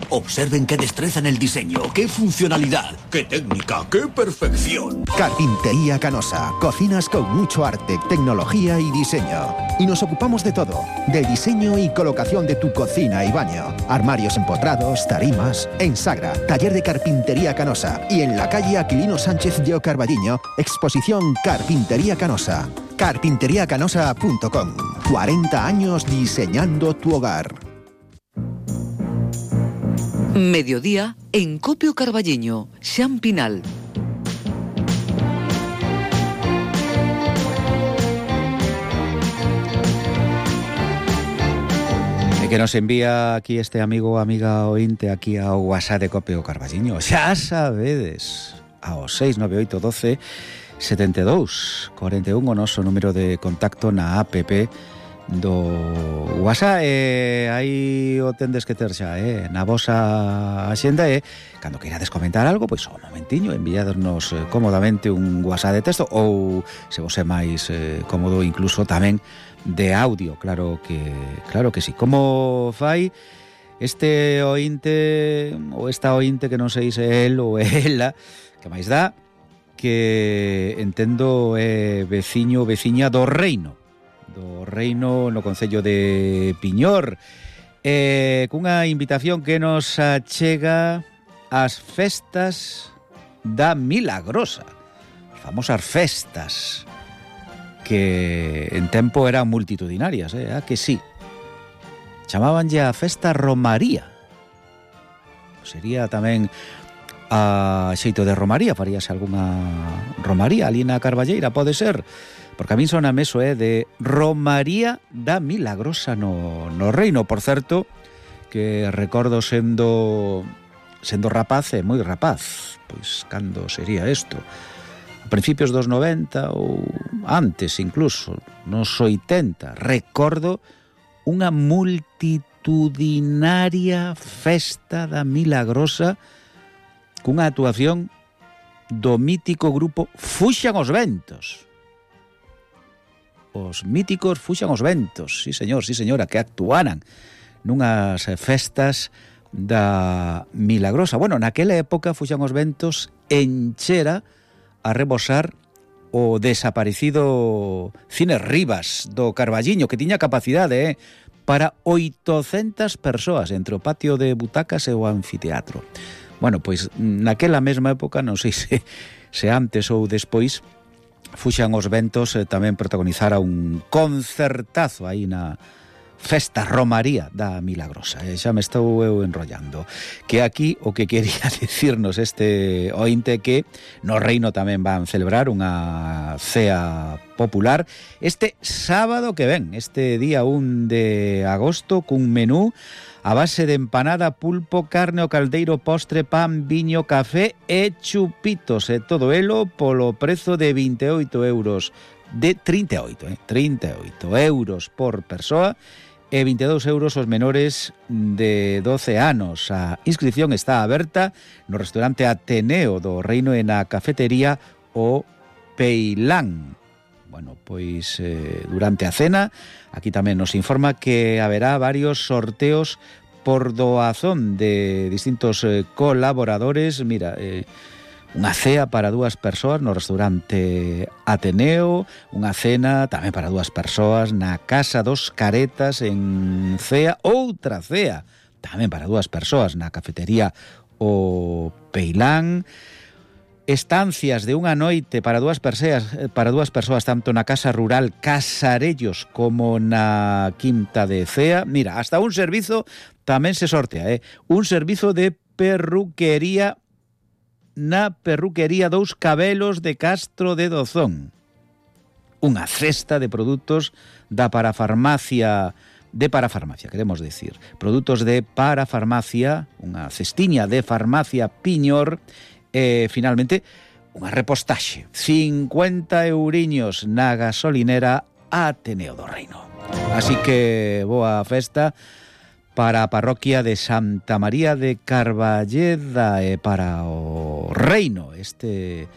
Observen qué destreza en el diseño, qué funcionalidad, qué técnica, qué perfección. Carpintería Canosa. Cocinas con mucho arte, tecnología y diseño. Y nos ocupamos de todo. Del diseño y colocación de tu cocina y baño. Armarios empotrados, tarimas. En Sagra, taller de Carpintería Canosa. Y en la calle Aquilino Sánchez de Carballiño, exposición Carpintería Canosa. Carpinteriacanosa.com. 40 años diseñando tu hogar. Mediodía en Copio Carballiño, Xan Pinal. E que nos envía aquí este amigo ou amiga ointe aquí ao WhatsApp de Copio Carballiño. Xa sabedes, ao 698 12 72 41 o noso número de contacto na app do WhatsApp. Aí o tendes que ter xa na vosa axenda cando queirades comentar algo, pois o momentiño enviádornos cómodamente un WhatsApp de texto ou, se vos é máis cómodo, incluso tamén de audio, claro que sí. Como fai este ointe ou esta ointe que non sei se é el ou ela, que máis dá, que entendo é veciña do Reino no concello de Piñor, cunha invitación que nos achega ás festas da Milagrosa, as famosas festas que en tempo eran multitudinarias, que sí, chamábanlle a festa Romaría. Sería tamén a xeito de romaría, faríase algunha romaría ali na Carballeira, pode ser, porque a min sona meso de Romaría da Milagrosa no Reino. Por certo, que recordo sendo rapaz, moi rapaz, pois cando sería isto, a principios dos 90 ou antes incluso, nos 80, recordo unha multitudinaria festa da Milagrosa cunha actuación do mítico grupo Fuxan os Ventos. Os míticos Fuxan os Ventos, sí señora, que actuaran nunhas festas da Milagrosa. Bueno, naquela época Fuxan os Ventos enchera a rebosar o desaparecido Cine Rivas do Carballiño, que tiña capacidade para 800 persoas entre o patio de butacas e o anfiteatro. Bueno, pois naquela mesma época, non sei se antes ou despois, Fuxan os Ventos tamén protagonizara un concertazo aí na festa Romaría da Milagrosa. Xa me estou eu enrollando. Que aquí o que quería dicirnos este ointe que no Reino tamén van celebrar unha cea popular este sábado que ven, este día 1 de agosto, cun menú a base de empanada, pulpo, carne o caldeiro, postre, pan, viño, café e chupitos, e todo elo polo prezo de 28 euros, de 38 euros por persoa, e 22 euros os menores de 12 anos. A inscripción está aberta no restaurante Ateneo do Reino e na cafetería O Peilán. Bueno, pois durante a cena, aquí tamén nos informa que haberá varios sorteos por doazón de distintos colaboradores. Mira, unha cea para 2 persoas no restaurante Ateneo, unha cena tamén para 2 persoas na Casa dos Caretas en Cea, outra cea tamén para 2 persoas na cafetería O Peilán, estancias de unha noite para 2 persoas tanto na Casa Rural Casarellos como na Quinta de Cea. Mira, hasta un servizo tamén se sortea, un servizo de perruquería na perruquería Dous Cabelos de Castro de Dozón. Unha cesta de produtos da parafarmacia, queremos decir, produtos de parafarmacia, unha cestiña de farmacia Piñor. Finalmente, unha repostaxe, 50 euriños na gasolinera Ateneo do Reino. Así que boa festa para a parroquia de Santa María de Carballeda e para o Reino este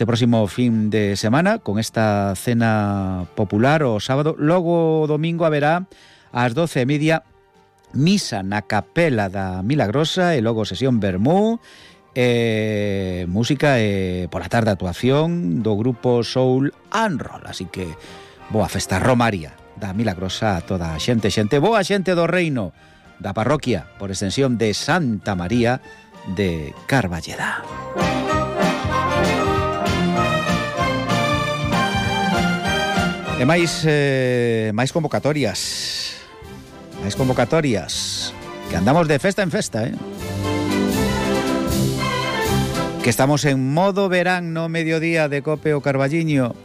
próximo fin de semana, con esta cena popular o sábado. Logo o domingo haberá ás 12:30 misa na capela da Milagrosa e logo sesión vermú, música e pola tarde actuación do grupo Soul and Roll. Así que boa festa romaría da Milagrosa a toda a xente, boa xente do reino, da parroquia, por extensión de Santa María de Carballeda. E máis convocatorias. Máis convocatorias. Que andamos de festa en festa, Que estamos en modo verán no mediodía de Cope o Carballiño.